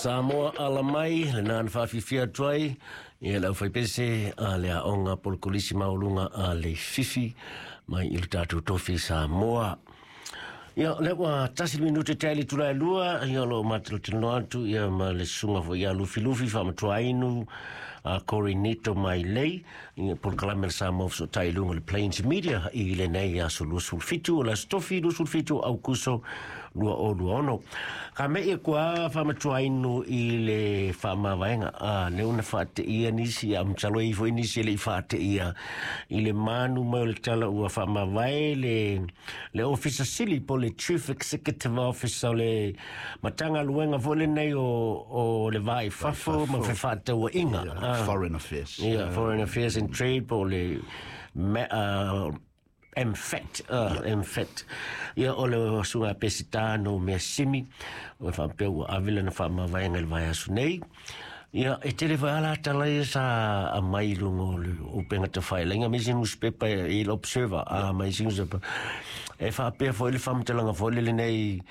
Samoa alamai lena na faafifia atu ai ia le aufaipese a le aoga polokolisi maualuga a Leififi mai i le tatou tofi Samoa. Ia, lea ua 1 minute tae le itula e 2, ia o lo o matalotaloa atu ia ma le susuga foi ia Lufilufi Faamatuainu a Corinito Mailei, ia polokalame le Samoa Fesootai i luga o le Plains Media i lenei aso 27 o le aso tofi 27 o Aukuso 2026. Ka mei e kua Faamatuainu i le faamavaega a lea una faateia nisi a masalo e i foi nisi e le i faateia i le manu mai o le tala ua faamavae le Ofisa Sili po le Chief Executive Officer o le Matagaluega foi lenei o le Va i Fafo ma Fefaatauaiga. Foreign Affairs. Yeah, Foreign Affairs and Trade po le MFAT, MFAT. Ia o le susuga Pesita no Measimi, o faapea ua ave lana faamavaega i le vaiaso nei. Ia, e tele foi ala tala ia sa aumai i luga o le upega tafailagi, ma isi newspaper i le Observer, a ma isi newspaper. E faapea foi le faamatalaga foi le lenei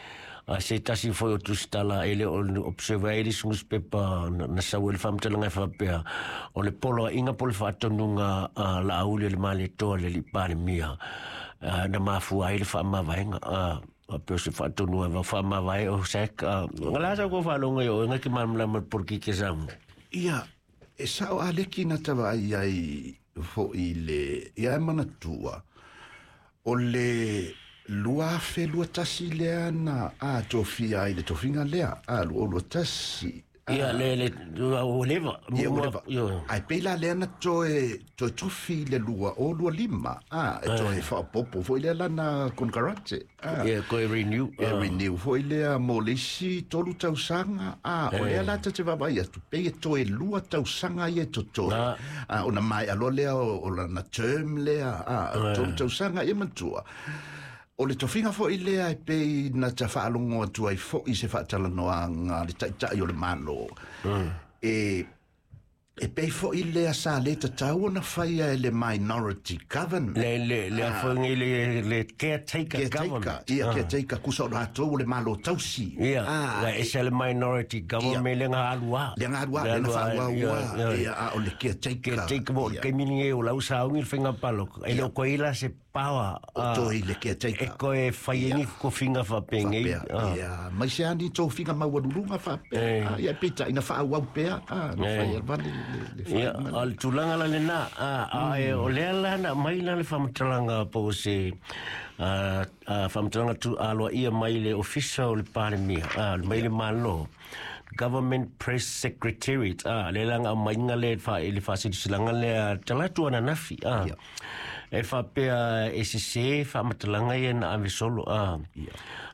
a se tasi foi o tusitala e le o le Observer e le isi newspaper na sau ai le faamatalaga e faapea o le poloaiga po o le faatonuga a Laauli o le Malietoa le alii Palemia na mafua ai le faamavaega. A pei o se faatonuga e faamavae o sac nga la sa ko faalogo i oe nga ke malamalama le polokiki a Samoa. Ia, e sao a leki na tava ai ai fo'i le ia e manatua o le 2021 lea na a tofia ai le tofiga lea a 2021. Ia le ua leva. Ia ua leva. Ai pei la lea na toe tofi le 2025 a e toe faapopo foi lea lana konekarate. Ia koe renew. E renew foi lea mo le isi 3 tausaga a o lea la te vaavaai atu pei e toe 2 tausaga ia e totoe. A ona mai aloa lea o lana term lea a 3 tausaga ia matua. O le tofiga foi lea e pei na ta faalogo atu ai foi se faatalanoaga le taitai o le Malo. E pei foi lea sa le tatau ona faia e le minority government. Le foi ngi le caretaker government. Ia, caretaker kusa o latou o le Malo tausi. Ia, la ese le minority government le nga alua. Le nga alua, le nga whaaua, ia, a o le caretaker. Caretaker mo le kaimini e o lau saungi le whainga paloko. E le o koe ila se power. O toi le caretaker. E koe whai e ni kofinga whapengei. Ia, mai se ani tō whinga maualulunga whapea. Ia, pita, ina whaauau pea. Na whai alvale le whai. Ia, o le tulaga la lena. O lea la na mai la le whamatalanga po o se whamatalanga tu aloa ia mai le ofisa o le Palemia, mai le Malo. Government Press Secretariat, le langa mai nga le wha le whasilisilaga lea talatu ananafi, e whapea e se se whamatalanga ia na ave solo,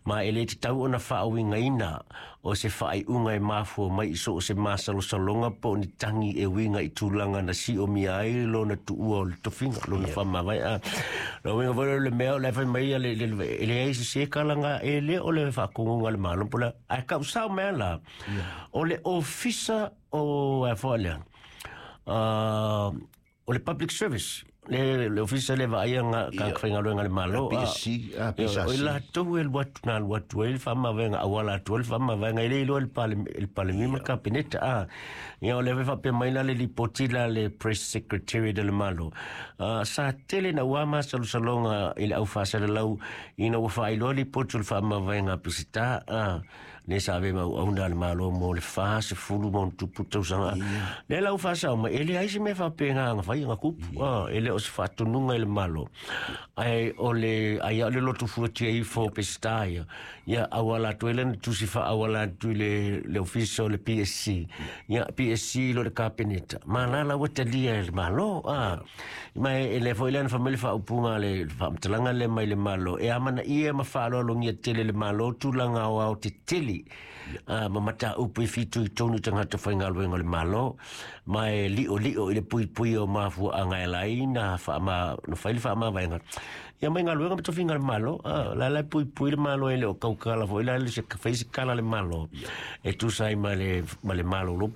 ma e le te tau ona whaawingaina o se whaaiunga e mafua mai i so o se masalosaloga po o ni tagi e uiga i tulaga na siomia ai lona tuua o le tofiga lona faamavae. La uiga foi le mea o le fai mai ia le leai se se kalaga e le o le faakogoga le Malo po le ae kausao mea la o le ofisa o e foi lea o le public service le ofisa le vaaia nga ka whaingaluega le Malo. PSC, PSC. O i latou e alu atu na alu atu ai le faamavaega auala atu ai le faamavaega e le iloa le Palemia ma le Kapeneta. Ia o le faapea mai la le lipoti la le Press Secretary de le Malo. Sa tele na ua masalosaloga i le au faasalalau ina ua faailoa lipoti o le faamavaega a Peseta le sa ave mau auna le Malo mo le 40 ma ona tupu tausaga. Le lau faasao mai e leai se mea faapena ga fai ga kupu e le o se faatonuga i le Malo. Ai o le ai o le lotu fuatia ifo Peseta ia. Ia auala atu ai lana tusi faaauala atu i le ofisa o le PSC. Ia PSC lo le Kapeneta. Ma la la ua talia e le Malo. Ma e le foi lana whamele whaaupunga le whaamatalaga le mai le Malo. E amana ia ma whaaloalogia tele le Malo tulaga o ao te tele. Ma mata upu i fitu i tonu tangata whaingaluega o le Malo. Ma e lio lio i le pui pui o mafua a ngai lai na whaama, na whai le whaamavaenga. Ia mai ngaluega ma tofiga le Malo. La la pui pui le Malo e le o kaukala foi la le se whai se kala le Malo. E tusa ai ma le Malo lo